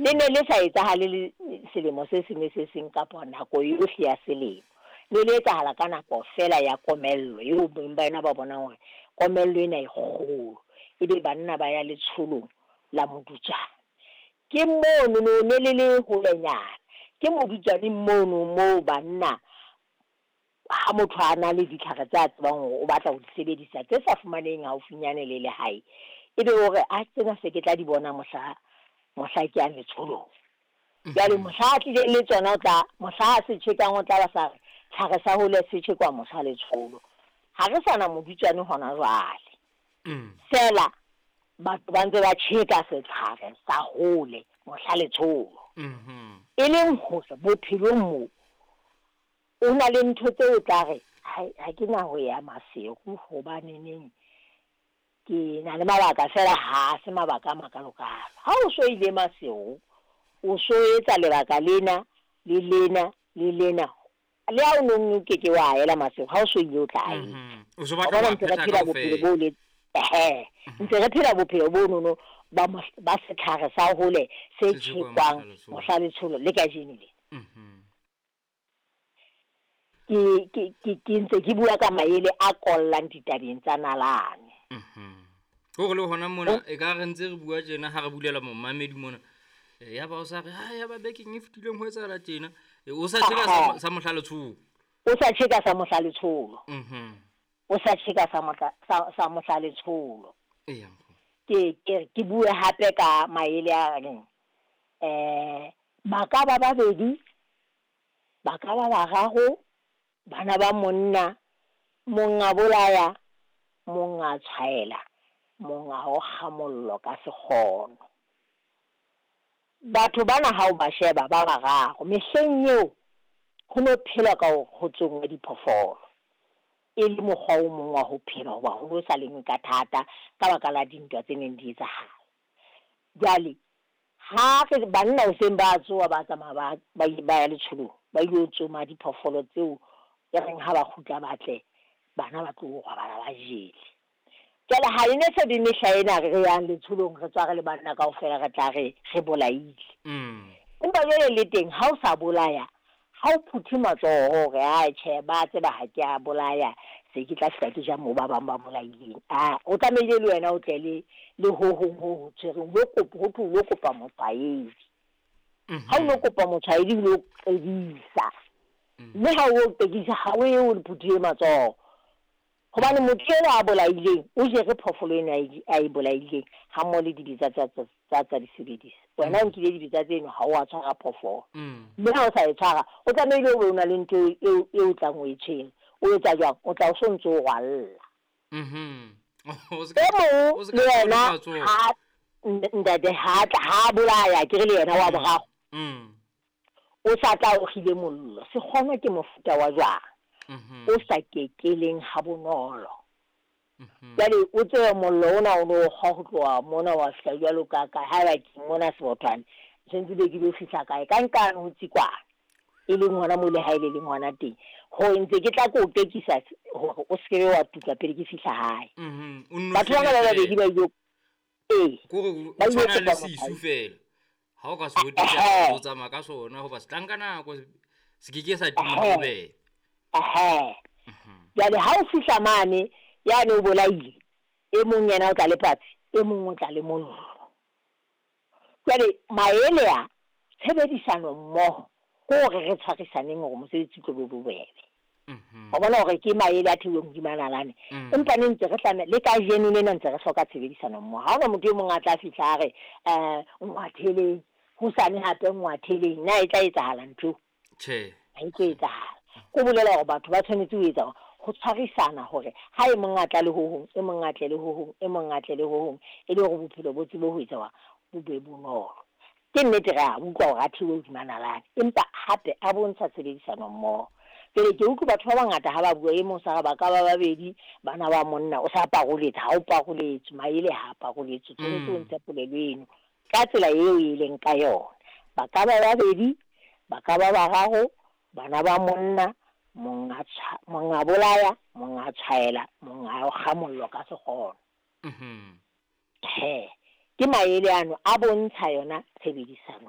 Le ne le sa etsahale le selemo se seng le se seng kapa nako yohle ya selemo. Ne le etsahala ka nako feela ya komello eo beng ba yona ba bonang hore komello ena e kgolo. Ebe banna ba ya letsholong la modutswane. Ke mono no ne le le holenyana. Ke modutswaneng mono moo banna ha motho a na le ditlhare tse a tsebang hore o batla ho di sebedisa tse sa fumaneheng haufinyane le lehae, ebe o re a tsena se ke tla di bona mohla mohla ke yang letsholong. Jwale mohla a tlileng le tsona o tla mohla a se tjhekang o tla ba sa re tlhare sa hole se tjhekwa mohla letsholo. Ha re sa na modutswane hona jwale. Feela batho ba ntse ba tjheka setlhare sa hole mohla letsholo. E leng hore bophelong mo o na le ntho tse o tla re ha ke na ho ya Maseru hobaneneng ke na le mabaka feela ha se mabaka a makalokalo. Ha o so ile Maseru o so etsa lebaka lena le lena le lena le ha o no ke ke wa ela Maseru ha o so ile o tla etsa. O so batla ho ntse re phetha phela bophelo kaofela. bo le ehe ntse re phela bophelo bo nono ba ba setlhare sa hole se Se tjhekwang tjhekwang mohla letsholo. mohla letsholo le kajeno le. Ke ntse ke bua ka maele a kollang ditabeng tsa nalane. Hore le hona mona e ka re ntse re bua tjena ha re bulela momamedi mona. Ya ba o sa re ha ya ba bekeng e fetileng ho etsahala tjena. O sa tjheka sa mohla letsholo. O sa tjheka sa mohla letsholo. O sa tjheka sa mohla sa mohla letsholo. Eya nkgono. Ke bue hape ka maele a reng ba ka ba babedi, ba ka ba bararo, bana ba monna, monga bolaya, monga tshwaela, monga o kga mollo ka sekgono. Batho bana ha o ba sheba ba bararo mehleng eo ho no phelwa ka hore ho tsongwe diphoofolo. E le mokgwa o mong wa ho phela hoba ho no sa lengwe ka thata ka baka la dintwa tse neng di etsahala. Jwale ha re banna hoseng ba tsoha ba tsamaya ba ya letsholong ba ilo tsoma diphoofolo tseo e reng ha ba kgutla ba tle bana ba tlo robala ba jele. Jwale ha e ne se be mehla ena re yang letsholong re tswa re le banna kaofela re tla re re bolaile. Empa jwale le teng ha o sa bolaya ha o phuthe matsoho hore a tjhe ba tseba ha ke a bolaya se ke tla fihla ke ja moo ba bang ba bolaileng. A o tlamehile le wena o tle le ho hong ho ho tshwereng ho kopa ho thwe o lo kopa motshwaedi. Ha o lo kopa motshwaedi o lo qedisa. Mme ha o qedisa ha o ye o le phuthile matsoho. Hobane motho eno a bolaileng o jere phoofolo eno a e bolaileng ha mmoho le dibetsa tsa di sebedisa. Wena o nkile dibetsa tseno ha o a tshwara phoofolo. Mme ha o sa e tshwara o tlamehile o be o na le ntho eo o tlang o e tshwere. O etsa jwang? O tla o so ntso o rwalla. E mong le yena ha ntate ha tla ha bolaya ke re le yena wa boraro. O sa tla o kgile mollo. Sekgono ke mofuta wa jwang? O sa kekeleng ha bonolo. Jwale o tsebe mollo ona o no kgwa ho tloha mona wa fihla jwalo ka kae haeba ke mona Sebothwane sentse be ke lo fihla kae ka nkane ho Tsikwane e leng hona moo lehae le leng hona teng. Ho ntse ke tla ko o tekisa hore o se ke wa tuka pele ke fihla hae. Batho bana ba babedi ba ile Kore o tshwana le sisu fela. Ha o ka se hotisa o tsamaya ka sona hoba se tla nka nako se ke ke sa tima ho bebe. Jwale ha o fihla mane yane o bolaile e mong yena o tla le patsi e mong o tla le mollo. Jwale maele a tshebedisano mmoho ke hore re tshwarisaneng hore mosebetsi o tlo be bobebe. Wa bona hore ke maele a theuweng hodima nalane. Empa ne ntse re tlameha le kajeno lena ntse re hloka tshebedisano mmoho. Ha hona motho e mong a tla fihla a re ngwatheleng hosane hape ngwatheleng na e tla etsahala ntho? Tjhe. Ha e tlo etsahala. Ko bolela hore batho ba tshwanetse ho etsa ho tshwarisana hore ha e mong a tla le ho hong, e mong a tle le ho hong, e mong a tle le ho hong, e le hore bophelo bo tsebe ho etsa bo be bonolo. Ke nnete re a utlwa hore a theuwe hodima nalane, empa hape a bontsha tshebedisano mmoho. Jwale ke utlwe batho ba bangata ha ba bua e mong sa re ba ka ba babedi bana ba monna o sa paroletse ha o paroletse maele ha paroletse tshwanetse o ntshe polelo eno ka tsela eo e leng ka yona. Ba ka ba babedi, ba ka ba bararo, bana ba monna, monga bolaya, monga tshwaela, monga kga mollo ka sekgono. Ke maele ano a bontsha yona tshebedisano